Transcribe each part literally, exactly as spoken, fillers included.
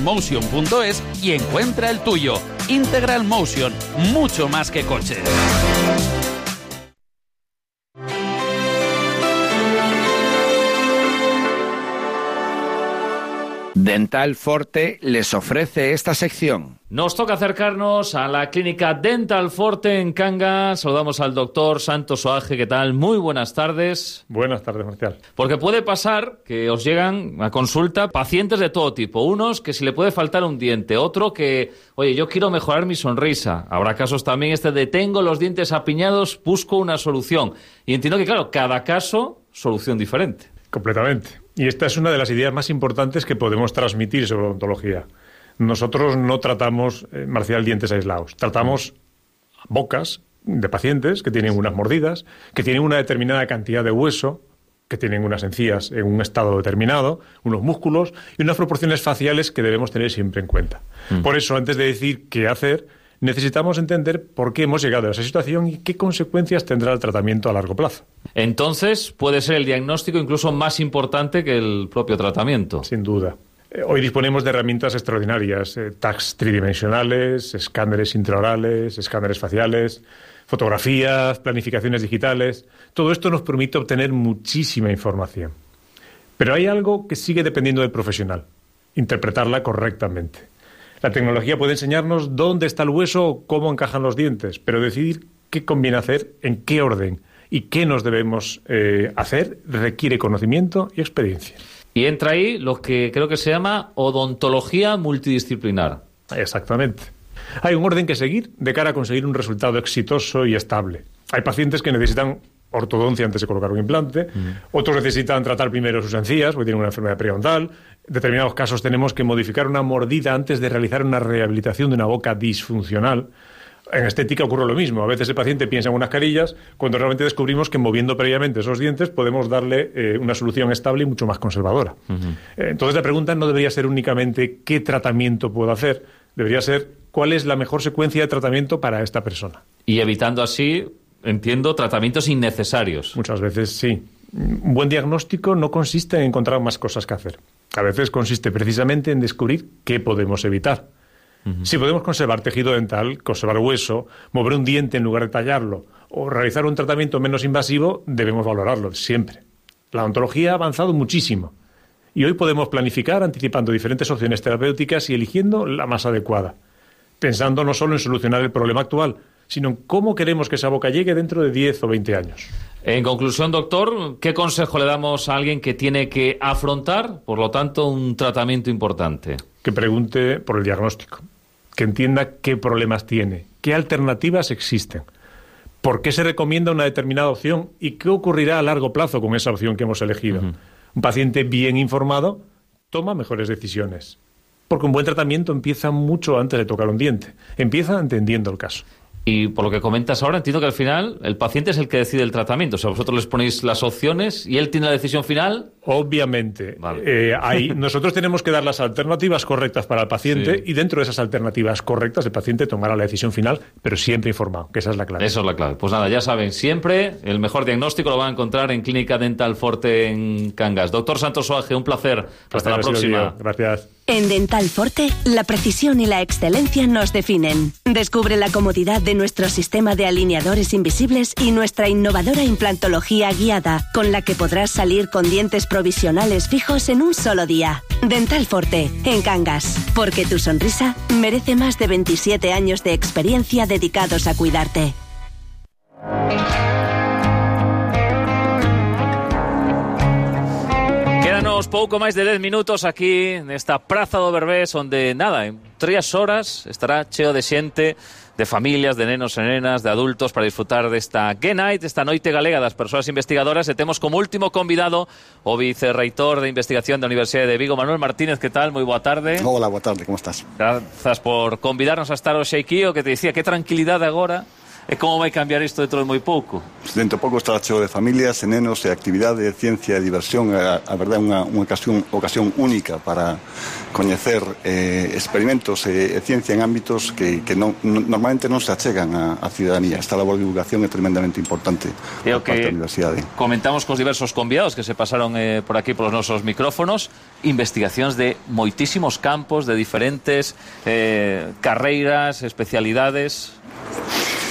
Motion punto es y encuentra el tuyo. Integral Motion, mucho más que coches. Dental Forte les ofrece esta sección. Nos toca acercarnos a la clínica Dental Forte en Cangas. Saludamos al doctor Santos Oaje. ¿Qué tal? Muy buenas tardes. Buenas tardes, Marcial. Porque puede pasar que os llegan a consulta pacientes de todo tipo. Unos que si le puede faltar un diente, otro que, oye, yo quiero mejorar mi sonrisa. Habrá casos también este de tengo los dientes apiñados, busco una solución. Y entiendo que, claro, cada caso, solución diferente. Completamente. Y esta es una de las ideas más importantes que podemos transmitir sobre odontología. Nosotros no tratamos, eh, Marcial, dientes aislados. Tratamos bocas de pacientes que tienen unas mordidas, que tienen una determinada cantidad de hueso, que tienen unas encías en un estado determinado, unos músculos y unas proporciones faciales que debemos tener siempre en cuenta. Mm. Por eso, antes de decir qué hacer, necesitamos entender por qué hemos llegado a esa situación y qué consecuencias tendrá el tratamiento a largo plazo. Entonces, puede ser el diagnóstico incluso más importante que el propio tratamiento. Sin duda. Eh, hoy disponemos de herramientas extraordinarias, eh, tags tridimensionales, escáneres intraorales, escáneres faciales, fotografías, planificaciones digitales. Todo esto nos permite obtener muchísima información. Pero hay algo que sigue dependiendo del profesional, interpretarla correctamente. La tecnología puede enseñarnos dónde está el hueso o cómo encajan los dientes, pero decidir qué conviene hacer, en qué orden y qué nos debemos eh, hacer requiere conocimiento y experiencia. Y entra ahí lo que creo que se llama odontología multidisciplinar. Exactamente. Hay un orden que seguir de cara a conseguir un resultado exitoso y estable. Hay pacientes que necesitan ortodoncia antes de colocar un implante, mm. otros necesitan tratar primero sus encías porque tienen una enfermedad periodontal. En determinados casos tenemos que modificar una mordida antes de realizar una rehabilitación de una boca disfuncional. En estética ocurre lo mismo. A veces el paciente piensa en unas carillas cuando realmente descubrimos que moviendo previamente esos dientes podemos darle eh, una solución estable y mucho más conservadora. Uh-huh. Entonces la pregunta no debería ser únicamente qué tratamiento puedo hacer, debería ser cuál es la mejor secuencia de tratamiento para esta persona. Y evitando así, entiendo, tratamientos innecesarios. Muchas veces sí. Un buen diagnóstico no consiste en encontrar más cosas que hacer. A veces consiste precisamente en descubrir qué podemos evitar. Uh-huh. Si podemos conservar tejido dental, conservar hueso, mover un diente en lugar de tallarlo o realizar un tratamiento menos invasivo, debemos valorarlo siempre. La odontología ha avanzado muchísimo y hoy podemos planificar anticipando diferentes opciones terapéuticas y eligiendo la más adecuada, pensando no solo en solucionar el problema actual, sino en cómo queremos que esa boca llegue dentro de diez o veinte años. En conclusión, doctor, ¿qué consejo le damos a alguien que tiene que afrontar, por lo tanto, un tratamiento importante? Que pregunte por el diagnóstico, que entienda qué problemas tiene, qué alternativas existen, por qué se recomienda una determinada opción y qué ocurrirá a largo plazo con esa opción que hemos elegido. Uh-huh. Un paciente bien informado toma mejores decisiones, porque un buen tratamiento empieza mucho antes de tocar un diente, empieza entendiendo el caso. Y por lo que comentas ahora, entiendo que al final el paciente es el que decide el tratamiento. O sea, vosotros les ponéis las opciones y él tiene la decisión final. Obviamente. Vale. Eh, hay, nosotros tenemos que dar las alternativas correctas para el paciente sí. y dentro de esas alternativas correctas el paciente tomará la decisión final, pero siempre informado, que esa es la clave. Eso es la clave. Pues nada, ya saben, siempre el mejor diagnóstico lo van a encontrar en Clínica Dental Forte en Cangas. Doctor Santos Oaje, un placer. Hasta la próxima. Gracias. En Dental Forte, la precisión y la excelencia nos definen. Descubre la comodidad de nuestro sistema de alineadores invisibles y nuestra innovadora implantología guiada, con la que podrás salir con dientes provisionales fijos en un solo día. Dental Forte, en Cangas, porque tu sonrisa merece más de veintisiete años de experiencia dedicados a cuidarte. Pouco máis de dez minutos aquí nesta Praza do Berbés, onde, nada, en tres horas estará cheo de xente, de familias, de nenos e nenas, de adultos, para disfrutar desta Gay Night, esta noite galega das persoas investigadoras, e temos como último convidado o vicerreitor de investigación da Universidade de Vigo, Manuel Martínez. Que tal? Moi boa tarde. Hola, boa tarde, como estás? Grazas por convidarnos a estar hoxe aquí, o que te dicía, que tranquilidade agora E como vai cambiar isto dentro de moi pouco? Dentro de pouco estará cheo de familias, e nenos, e actividade, ciencia e diversión. A, a verdade é unha, unha ocasión, ocasión única para coñecer eh, experimentos e, e ciencia en ámbitos que, que non, normalmente non se achegan á, á ciudadanía. Esta labor de divulgación é tremendamente importante E o por parte que da universidade. comentamos cos diversos convidados que se pasaron eh, por aquí polos nosos micrófonos, investigacións de moitísimos campos, de diferentes eh, carreiras, especialidades.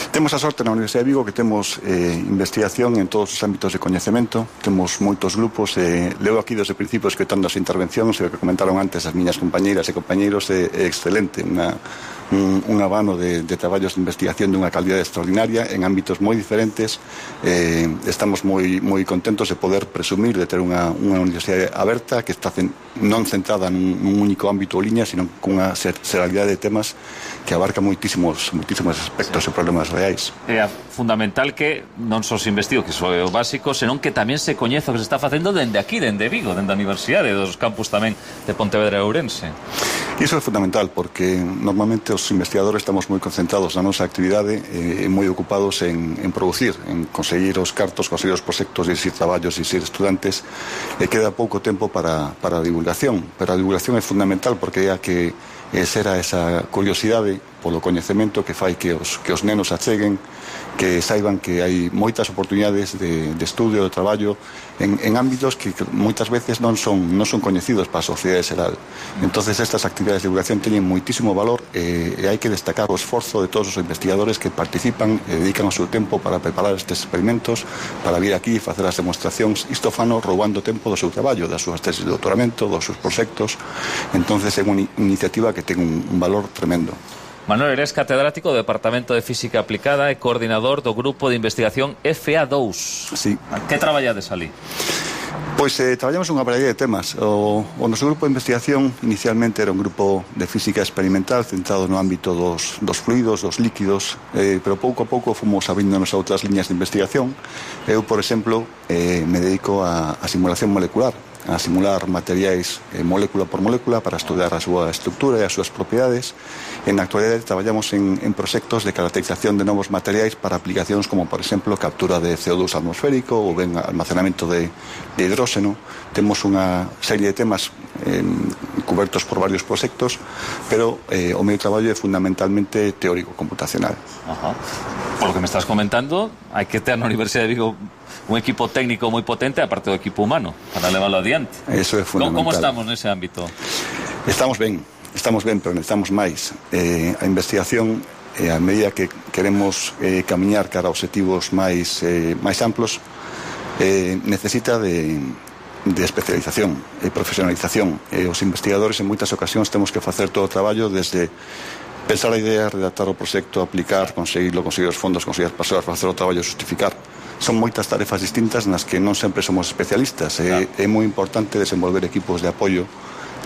Temos a sorte na Universidade de Vigo que temos eh, investigación en todos os ámbitos de coñecemento, temos moitos grupos, eh, leo aquí desde principios que están das intervencións, e o que comentaron antes as miñas compañeiras e compañeiros é, é excelente, unha, un, un abano de, de traballos de investigación dunha calidade extraordinaria en ámbitos moi diferentes. Eh, estamos moi, moi contentos de poder presumir de ter unha, unha universidade aberta que está cen, non centrada nun, nun único ámbito ou liña, sino cunha seralidade de temas que abarca moitísimos, moitísimos aspectos sí. e problemas reais. É fundamental que non só se investigue, que iso é o básico, senón que tamén se coñeza o que se está facendo dende aquí, dende Vigo, dende a Universidade, dos campus tamén de Pontevedra e Ourense. Iso é fundamental, porque normalmente os investigadores estamos moi concentrados na nosa actividade e moi ocupados en, en producir, en conseguir os cartos, conseguir os proxectos, dixir traballos, dixir estudantes, e queda pouco tempo para, para a divulgación. Pero a divulgación é fundamental porque é a que será esa curiosidade polo coñecemento que fai que os, que os nenos acheguen, que saiban que hai moitas oportunidades de, de estudio, de traballo en, en ámbitos que moitas veces non son, non son coñecidos para a sociedade xeral. Entonces estas actividades de divulgación teñen moitísimo valor e, e hai que destacar o esforzo de todos os investigadores que participan e dedican o seu tempo para preparar estes experimentos, para vir aquí e facer as demostracións. Isto fano roubando tempo do seu traballo, das súas tesis de doutoramento, dos seus proxectos. Entonces é unha iniciativa que ten un, un valor tremendo. Manuel, eres catedrático do Departamento de Física Aplicada e coordinador do Grupo de Investigación F A dous. Sí. Que traballades ali? Pois eh, traballamos unha variedade de temas. O, o noso grupo de investigación inicialmente era un grupo de física experimental centrado no ámbito dos, dos fluidos, dos líquidos, eh, pero pouco a pouco fomos abrindo-nos a outras liñas de investigación. Eu, por exemplo, eh, me dedico a, a simulación molecular, a simular materiais eh, molécula por molécula para estudar a súa estructura e as súas propiedades. En a actualidade traballamos en, en proxectos de caracterización de novos materiais para aplicacións como, por exemplo, captura de C O dos atmosférico ou ben almacenamento de, de hidróxeno. Temos unha serie de temas eh, cobertos por varios proxectos, pero eh, o meu traballo é fundamentalmente teórico computacional. Ajá. Por lo que me estás comentando, hai que ter na Universidade de Vigo un equipo técnico moi potente, aparte do equipo humano, para leválo adiante. Eso é fundamental. Como estamos nese ámbito? Estamos ben, estamos ben, pero necesitamos máis. Eh, a investigación, eh, a medida que queremos eh, camiñar cara a objetivos máis, eh, máis amplos, eh, necesita de, de especialización e profesionalización. Eh, os investigadores en moitas ocasións temos que facer todo o traballo desde pensar a idea, redactar o proxecto, aplicar, conseguirlo, conseguir os fondos, conseguir as persoas, facer o traballo, justificar. Son moitas tarefas distintas nas que non sempre somos especialistas. É, é moi importante desenvolver equipos de apoio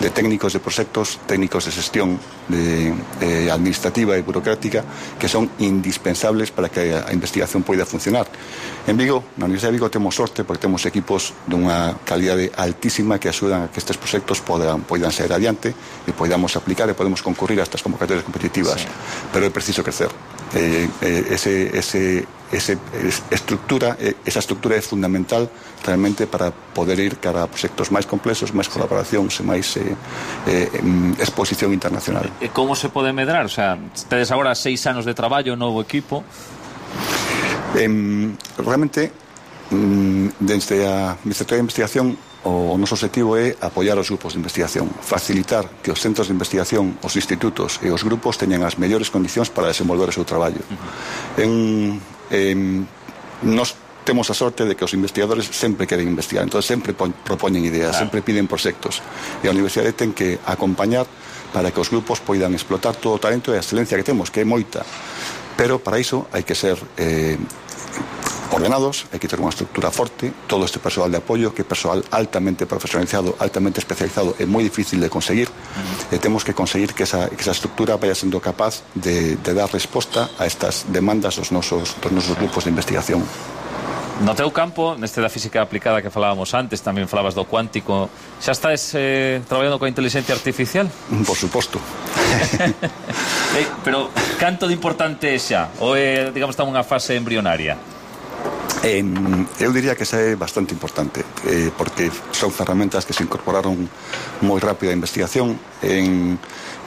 de técnicos de proxectos, técnicos de xestión de, de administrativa e burocrática que son indispensables para que a investigación poida funcionar. En Vigo, na Universidade de Vigo, temos sorte porque temos equipos dunha calidade altísima que axudan a que estes proxectos podan, poidan ser adiante e podamos aplicar e podemos concurrir a estas convocatorias competitivas. Sí. Pero é preciso crecer. Eh, eh, ese, ese, ese estructura, eh, esa estructura é fundamental realmente para poder ir cara a proxectos máis complexos, máis colaboracións e máis eh, eh, exposición internacional. E como se pode medrar? O sea, tedes agora seis anos de traballo, novo equipo. Eh, realmente, mm, desde a Vicerrectoría de Investigación, o noso objetivo é apoiar os grupos de investigación, facilitar que os centros de investigación, os institutos e os grupos teñan as mellores condicións para desenvolver o seu traballo. Uh-huh. En, en, nos temos a sorte de que os investigadores sempre queren investigar, entón sempre propoñen ideas, claro. sempre piden proxectos, e a universidade ten que acompañar para que os grupos poidan explotar todo o talento e a excelencia que temos, que é moita, pero para iso hai que ser eh, ordenados, hai que ter unha estructura forte, todo este persoal de apoio, que é persoal altamente profesionalizado, altamente especializado, é moi difícil de conseguir, uh-huh. e temos que conseguir que esa, que esa estructura vaya sendo capaz de, de dar resposta a estas demandas dos nosos, dos nosos grupos de investigación. No teu campo, neste da física aplicada que falábamos antes, tamén falabas do cuántico, xa estás eh, traballando coa inteligencia artificial? Por suposto. Eh, pero canto de importante é xa? Ou é, digamos, está unha fase embrionaria? Eh, eu diría que esa é bastante importante, eh, porque son ferramentas que se incorporaron moi rápido á investigación, en,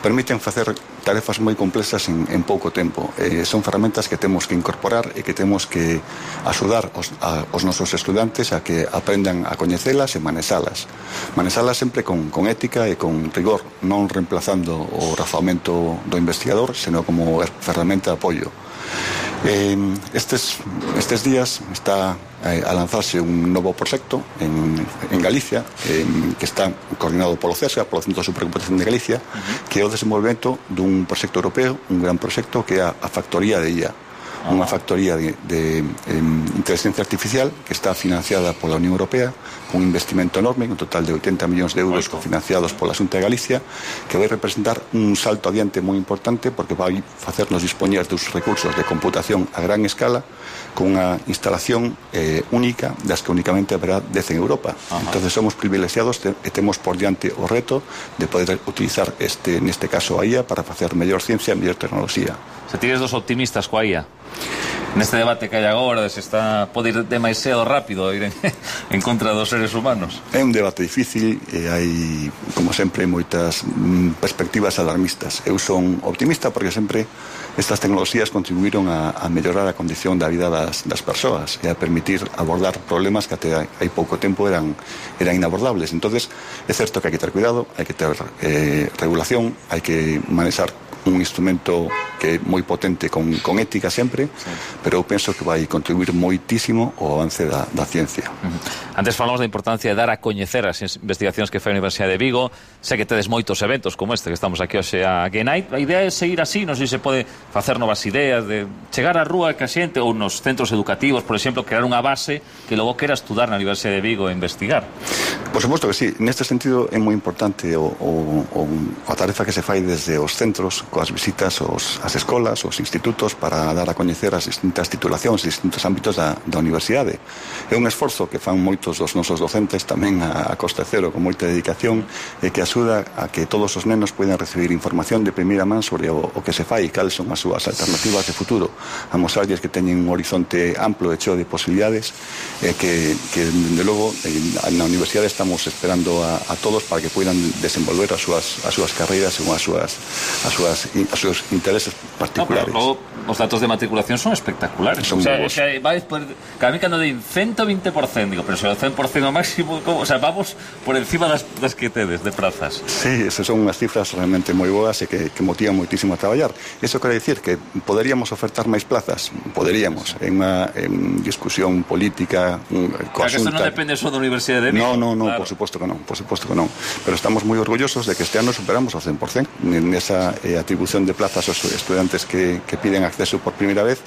permiten facer tarefas moi complexas en, en pouco tempo. Eh, son ferramentas que temos que incorporar e que temos que axudar os, a, os nosos estudantes a que aprendan a coñecelas e manexalas. Manexalas sempre con, con ética e con rigor, non reemplazando o razoamento do investigador, senón como ferramenta de apoio. Eh, estes, estes días está eh, a lanzarse un novo proxecto en, en Galicia, eh, que está coordinado polo CESGA, polo Centro de Supercomputación de Galicia, uh-huh. que é o desenvolvemento dun proxecto europeo, un gran proxecto que é a, a factoría de I A, uh-huh. unha factoría de, de eh, inteligencia artificial que está financiada pola Unión Europea, un investimento enorme, un total de oitenta millóns de euros cofinanciados pola Xunta de Galicia, que vai representar un salto adiante moi importante porque vai facernos dispoñer dos recursos de computación a gran escala con unha instalación eh, única das que únicamente haberá dez en Europa. Ajá. Entonces somos privilexiados te, e temos por diante o reto de poder utilizar este, neste caso a I A para facer mellor ciencia e mellor tecnoloxía. Se tires dos optimistas coa I A neste debate que hai agora, se está pode ir demasiado rápido ir en, en contra dos seres humanos. É un debate difícil e hai, como sempre, moitas mm, perspectivas alarmistas. Eu son optimista porque sempre estas tecnoloxías contribuíron a, a mellorar a condición da vida das, das persoas e a permitir abordar problemas que até hai pouco tempo eran, eran inabordables. Entonces, é certo que hai que ter cuidado, hai que ter eh, regulación, hai que manexar un instrumento que é moi potente con, con ética sempre, sí. Pero eu penso que vai contribuir moitísimo ao avance da, da ciencia. Uh-huh. Antes falamos da importancia de dar a coñecer as investigacións que fai a Universidade de Vigo. Sei que tedes moitos eventos como este que estamos aquí hoxe a Genite. A idea é seguir así, non sei se pode facer novas ideas de chegar á rúa que a xente ou nos centros educativos, por exemplo, crear unha base que logo quera estudar na Universidade de Vigo e investigar. Por suposto que sí, neste sentido é moi importante o, o, o, a tarefa que se fai desde os centros, coas visitas aos, as escolas, os institutos, para dar a coñecer as distintas titulacións, os distintos ámbitos da, da universidade. É un esforzo que fan moitos dos nosos docentes tamén a, a coste cero, con moita dedicación, e que axuda a que todos os nenos poidan recibir información de primeira man sobre o, o que se fai e cales son as súas alternativas de futuro, a mostrarlles que teñen un horizonte amplo e cheo de posibilidades, e que, que de logo, na universidade estamos esperando a, a todos para que poidan desenvolver as súas, as súas carreiras según as súas, as súas, as súas intereses particulares. No, pero logo, os datos de matriculación son espectaculares. Son o sea, o sea, vais por, cada mí cando din ciento veinte por cento, digo, pero se o cen por cento ao máximo, como, o sea, vamos por encima das, das que tedes de prazas. Sí, esas son unhas cifras realmente moi boas e que, que motivan moitísimo a traballar. Eso quere dicir que poderíamos ofertar máis plazas, poderíamos, en unha en discusión política, coa Xunta. Eso non depende só da Universidade de Vigo. No, no, no, claro. por suposto que non, por suposto que non. Pero estamos moi orgullosos de que este ano superamos o cen por cento nesa eh, atribución de plazas aos estudantes que, que piden acceso por primeira vez.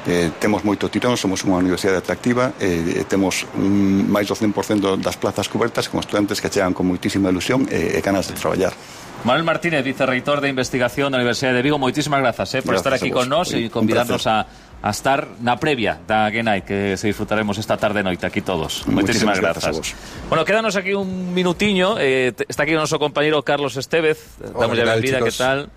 Eh, temos moito tirón, somos unha universidade atractiva, eh, temos un, máis do cen por cento das plazas cobertas con estudantes que chegan con moitísima ilusión e, e ganas de traballar. Manuel Martínez, vicerreitor de investigación da Universidade de Vigo, moitísimas grazas eh, por gracias estar aquí con nós e convidarnos a, a estar na previa da Genite, que se disfrutaremos esta tarde noite aquí todos. Moitísimas grazas. Bueno, quédanos aquí un minutiño, eh, está aquí o noso compañeiro Carlos Estevez, damos a benvida, que tal?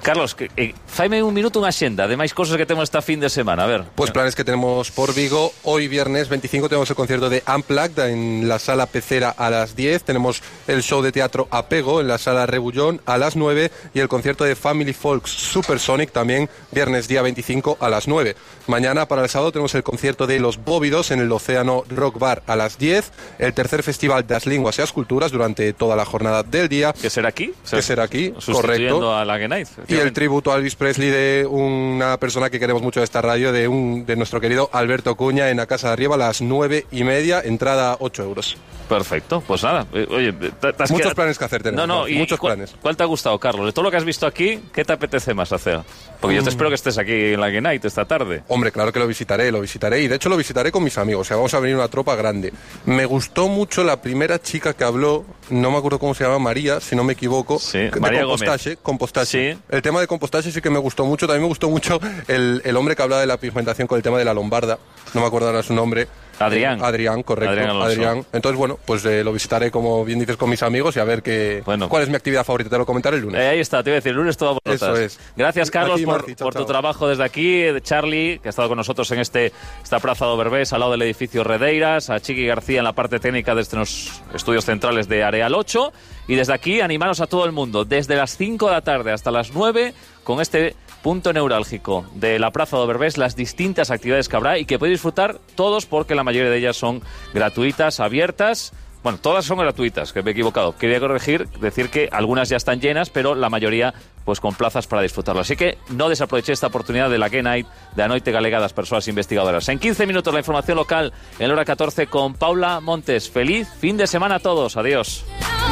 Carlos, que, eh, faime un minuto unha xenda de máis cosas que temos esta fin de semana, a ver. Pues planes que tenemos por Vigo. Hoy viernes veinticinco tenemos el concierto de Unplugged en la sala Pecera a las diez. Tenemos el show de teatro Apego en la sala Rebullón a las nueve y el concierto de Family Folks Supersonic también viernes día veinticinco a las nueve. Mañana para el sábado tenemos el concierto de Los Bóvidos en el Océano Rock Bar a las diez. El tercer festival das Linguas e as Culturas durante toda la jornada del día. Que será aquí. Que será aquí, sustituyendo correcto. a la Genite. Y el tributo a Elvis Presley de una persona que queremos mucho de esta radio, de un de nuestro querido Alberto Cuña, en la Casa de Arriba a las nueve y media, entrada ocho euros. Perfecto, pues nada. Oye, te, te has muchos quedado... planes que hacer tenemos. No, no, y muchos ¿cuál, planes. ¿Cuál te ha gustado, Carlos? De todo lo que has visto aquí, ¿qué te apetece más hacer? Porque mm. yo te espero que estés aquí en la Genite esta tarde. Hombre, claro que lo visitaré, lo visitaré. Y de hecho lo visitaré con mis amigos. O sea, vamos a venir una tropa grande. Me gustó mucho la primera chica que habló, no me acuerdo cómo se llama, María, si no me equivoco. Sí, de María compostaje, Gómez. Compostaje. Sí. El tema de compostaje sí que me gustó mucho. También me gustó mucho el, el hombre que hablaba de la pigmentación con el tema de la lombarda. No me acuerdo ahora su nombre. Adrián. Eh, Adrián, correcto. Adrián, Adrián. Entonces, bueno, pues eh, lo visitaré, como bien dices, con mis amigos y a ver qué, bueno. cuál es mi actividad favorita. Te lo comentaré el lunes. Eh, ahí está, te iba a decir, el lunes todo por notas. Eso es. Gracias, Carlos, Aquí, por, Marci, chao, por tu chao. trabajo desde aquí. De Charlie, que ha estado con nosotros en este esta Praza do Berbés, al lado del edificio Redeiras. A Chiqui García en la parte técnica desde los estudios centrales de Areal ocho. Y desde aquí, animaros a todo el mundo, desde las cinco de la tarde hasta las nueve, con este punto neurálgico de la Praza do Berbés, las distintas actividades que habrá y que podéis disfrutar todos, porque la mayoría de ellas son gratuitas, abiertas. Bueno, todas son gratuitas, que me he equivocado. Quería corregir, decir que algunas ya están llenas, pero la mayoría pues con plazas para disfrutarlo. Así que no desaprovechéis esta oportunidad de la Gay Night de Anoite Galega das Persoas Investigadoras. En quince minutos la información local en la hora catorce con Paula Montes. Feliz fin de semana a todos. Adiós.